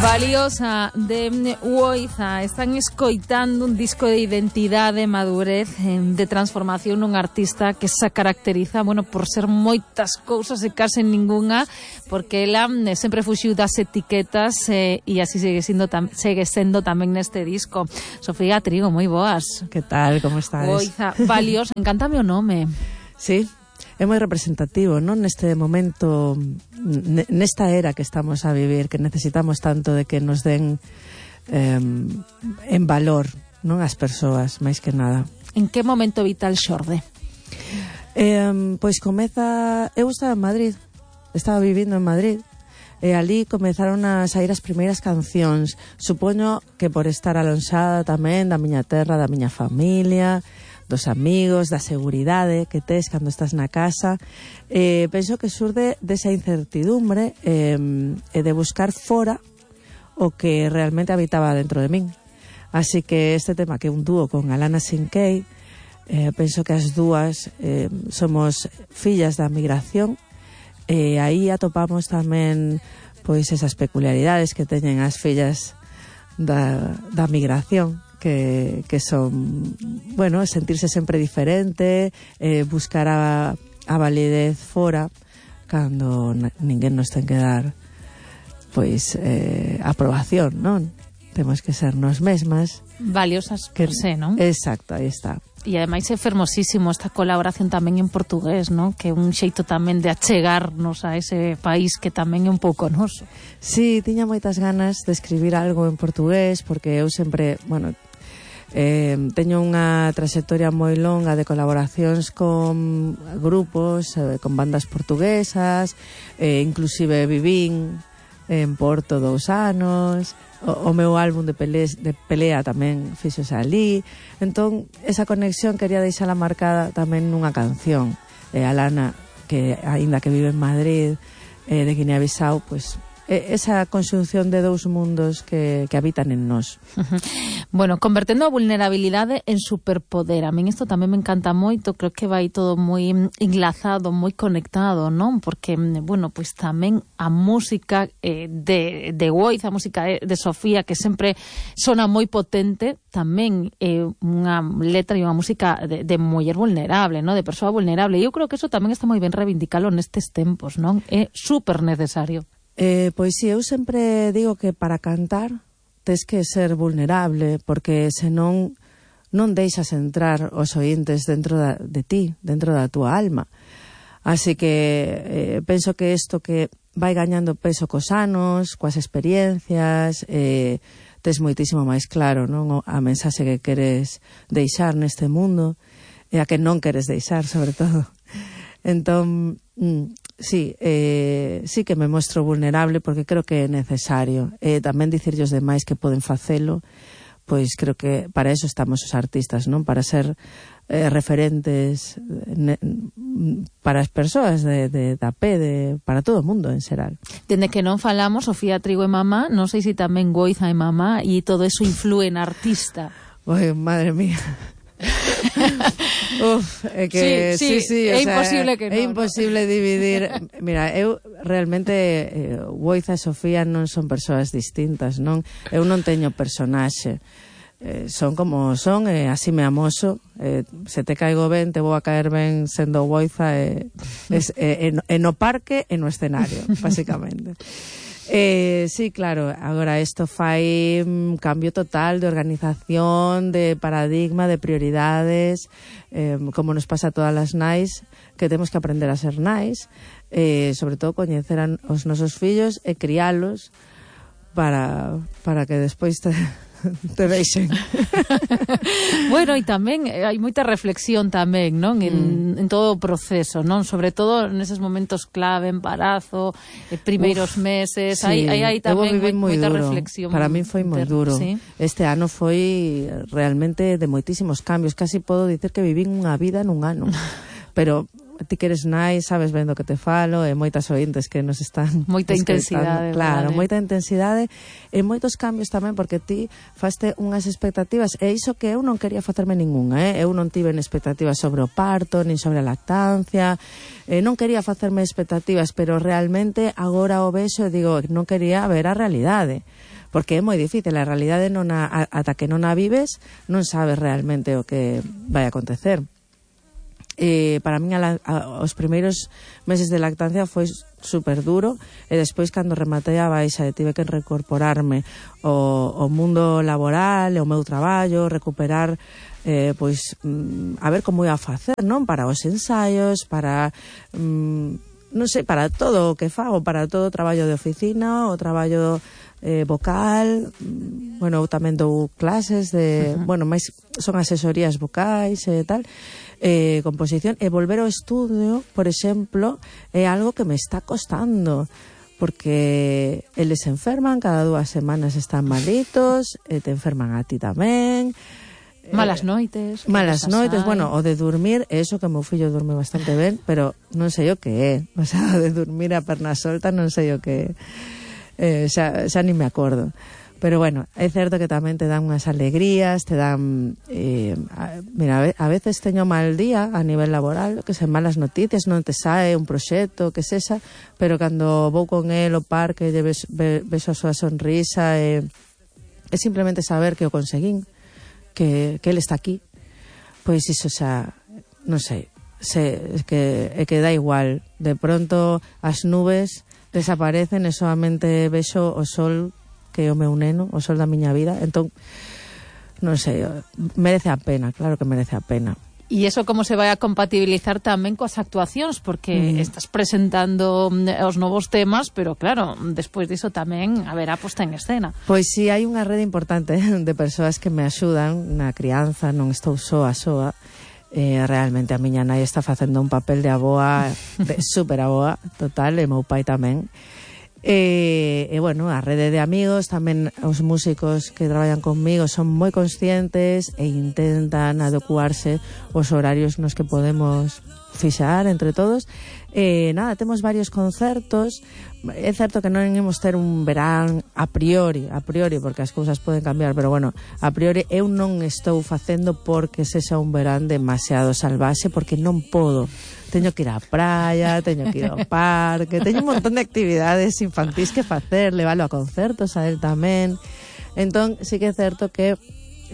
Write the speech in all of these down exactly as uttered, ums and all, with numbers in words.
Valiosa de Woiza. Están escoitando un disco de identidade, madurez, de transformación nun artista que se caracteriza, bueno, por ser moitas cousas e case ningunha, porque ela sempre fuxiu das etiquetas eh, e así segue sendo, tam, segue sendo tamén neste disco. Sofía Trigo, moi boas. Que tal, como estades? Woiza, Valiosa, encántame o nome. Sí, é moi representativo, non? Neste momento, nesta era que estamos a vivir, que necesitamos tanto de que nos den eh, en valor, non, as persoas, máis que nada. En que momento vital xorde? Eh, pois comeza... Eu estaba en Madrid, estaba vivindo en Madrid, e ali comezaron a sair as primeiras cancións. Supoño que por estar alonsada tamén da miña terra, da miña familia, dos amigos, da seguridade que tes cando estás na casa. Eh, penso que surde desa incertidumbre eh, e de buscar fora o que realmente habitaba dentro de min. Así que este tema, que é un dúo con Alana Sinkei, eh, penso que as dúas eh, somos fillas da migración, e aí atopamos tamén pois esas peculiaridades que teñen as fillas da, da migración, que, que son, bueno, sentirse sempre diferente, eh, buscar a, a validez fora cando ninguén nos ten que dar pois eh, aprobación, non? Temos que ser nos mesmas. Valiosas que, per se, non? Exacto, aí está. E ademais é fermosísimo esta colaboración tamén en portugués, non? Que é un xeito tamén de achegarnos a ese país que tamén é un pouco noso. Sí, tiña moitas ganas de escribir algo en portugués, porque eu sempre, bueno, eh, teño unha traxectoria moi longa de colaboracións con grupos, eh, con bandas portuguesas, eh, inclusive vivín en Porto dous anos. O, o meu álbum de, pelés, de pelea tamén fixose ali. Entón, esa conexión quería deixala marcada tamén nunha canción. E a Lana, que aínda que vive en Madrid, eh, de Guinea-Bissau, pois esa conxunción de dous mundos que, que habitan en nós. Bueno, convertendo a vulnerabilidade en superpoder. A min isto tamén me encanta moito, creo que vai todo moi enlazado, moi conectado, non? Porque, bueno, pois tamén a música eh, de, de Woiza, a música de Sofía, que sempre sona moi potente, tamén é eh, unha letra e unha música de, de muller vulnerable, non? De persoa vulnerable. E eu creo que eso tamén está moi ben reivindicalo nestes tempos, non? É super necesario. Eh, pois si, eu sempre digo que para cantar tes que ser vulnerable, porque senón non deixas entrar os oíntes dentro da, de ti, dentro da túa alma. Así que eh, penso que isto que vai gañando peso cos anos, coas experiencias, eh, tes moitísimo máis claro, non, a mensaxe que queres deixar neste mundo e a que non queres deixar, sobre todo. Entón, mm, sí, eh, sí que me mostro vulnerable, porque creo que é necesario. E eh, tamén dicirlle aos demais que poden facelo, pois creo que para eso estamos os artistas, non? Para ser eh, referentes ne, para as persoas de, de, da pé, de, para todo o mundo en xeral. Dende que non falamos, Sofía Trigo e mamá, non sei se tamén Woiza e mamá, e todo eso influe na artista. Oi, madre mía. Uf, é que sí, sí, sí, sí, é o sea, imposible que é non, imposible ¿no? dividir. Mira, eu realmente eh, Woiza e Sofía non son persoas distintas, non? Eu non teño personaxe. Eh, son como son, e eh, así me amoso. Eh, se te caigo ben, te vou a caer ben sendo Woiza e eh, eh, eh, no parque e no escenario, basicamente. Eh, sí, claro, agora isto fai un cambio total de organización, de paradigma, de prioridades, eh, como nos pasa a todas as nais, que temos que aprender a ser nais, eh, sobre todo coñecer a, os nosos fillos e crialos para, para que despois te... te deixen. Bueno, e tamén hai moita reflexión tamén, non? En, mm. en todo o proceso, non? Sobre todo neses momentos clave, embarazo, eh, primeiros Uf, meses, hai, sí. hai, hai tamén moi, moita duro. reflexión. Para mí foi moi duro. ¿Sí? Este ano foi realmente de moitísimos cambios, casi podo dicer que vivín unha vida nun ano. Pero ti que eres nai, sabes ben do que te falo, e moitas ointes que nos están moita intensidade, claro, vale. moita intensidade e moitos cambios tamén, porque ti faste unhas expectativas, e iso que eu non quería facerme ningunha, eh? Eu non tive expectativas sobre o parto, nin sobre a lactancia, eh, non quería facerme expectativas, pero realmente agora o vexo e digo, non quería ver a realidade. porque é moi difícil, a realidade non a, a, ata que non a vives non sabes realmente o que vai acontecer. Eh, para min a, a, os primeiros meses de lactancia foi super duro, e despois cando rematei a baixa e tive que reincorporarme ao, ao mundo laboral, ao meu traballo, recuperar eh, pois mm, a ver como ia a facer, non? Para os ensaios, para mm, non sei, para todo o que fago, para todo o traballo de oficina, o traballo eh, vocal, bueno, eu tamén dou clases de, uh-huh. bueno, máis son asesorías vocais e tal, eh, composición, e volver ao estudio, por exemplo, é algo que me está costando, porque eles se enferman, cada dúas semanas están malitos, e te enferman a ti tamén. Malas noites. Malas noites, bueno, o de dormir, eso que meu fillo dorme bastante ben, pero non sei o que é, o sea, de dormir a perna solta non sei o que é, eh, xa, xa ni me acordo. Pero bueno, é certo que tamén te dan unhas alegrías, te dan... Eh, a, mira, a veces teño mal día a nivel laboral, que se malas noticias, non te sae un proxecto, que sexa, pero cando vou con el ao parque, ves, ves a súa sonrisa, e, é simplemente saber que o conseguín, que, que ele está aquí, pois iso xa, non sei, se, que, é que dá igual, de pronto as nubes desaparecen e solamente vexo o sol, que é o meu neno, o sol da miña vida, entón, non sei, merece a pena, claro que merece a pena. E iso como se vai a compatibilizar tamén coas actuacións, porque mm. estás presentando os novos temas, pero claro, despois diso tamén haberá posta en escena. Pois si, sí, hai unha rede importante de persoas que me axudan na crianza, non estou soa soa, eh, realmente a miña nai está facendo un papel de aboa, de super aboa, total, e meu pai tamén. E, e bueno, a rede de amigos, tamén os músicos que traballan conmigo son moi conscientes e intentan adecuarse os horarios nos que podemos fixar entre todos. E nada, temos varios concertos. É certo que non imos ter un verán a priori, a priori, porque as cousas poden cambiar, pero bueno, a priori eu non estou facendo porque sexa un verán demasiado salvaxe, porque non podo. Teño que ir á praia, teño que ir ao parque, teño un montón de actividades infantís que facer, levalo a concertos a él tamén. Entón, sí que é certo que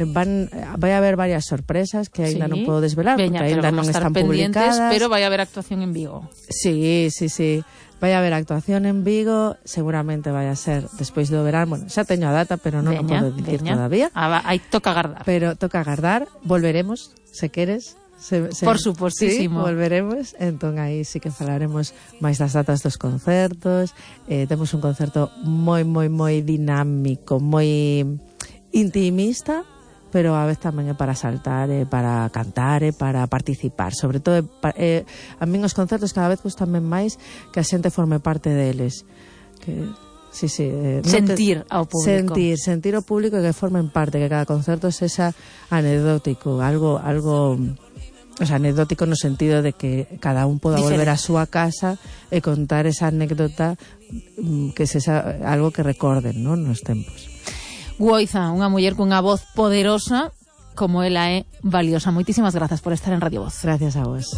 van vai a haber varias sorpresas que aínda sí. non podo desvelar, Veña, porque aínda non están publicadas. Pero vai a haber actuación en Vigo. Sí, sí, sí. Vai a haber actuación en Vigo, seguramente vai a ser despois do verán. Bueno, xa teño a data, pero non o podo dicir todavía. Ah, aí toca agardar. Pero toca agardar, volveremos, se queres. Se, se, Por supostísimo. Sí, volveremos, entón aí sí que falaremos máis das datas dos concertos. Eh, temos un concerto moi, moi, moi dinámico, moi intimista, pero a vez tamén é para saltar, é para cantar, é para participar. Sobre todo, é, a min os concertos cada vez gustanme máis que a xente forme parte deles. Que... Sí, sí, eh, sentir te... ao público. Sentir, sentir ao público e que formen parte, que cada concerto sexa anecdótico, algo, algo, o sea, anecdótico no sentido de que cada un poda Diferente. volver a súa casa e contar esa anécdota que sexa algo que recorden, ¿no?, nos tempos. Guoiza, unha muller cunha voz poderosa, como ela é valiosa. Moitísimas grazas por estar en Radio Voz. Gracias a vos.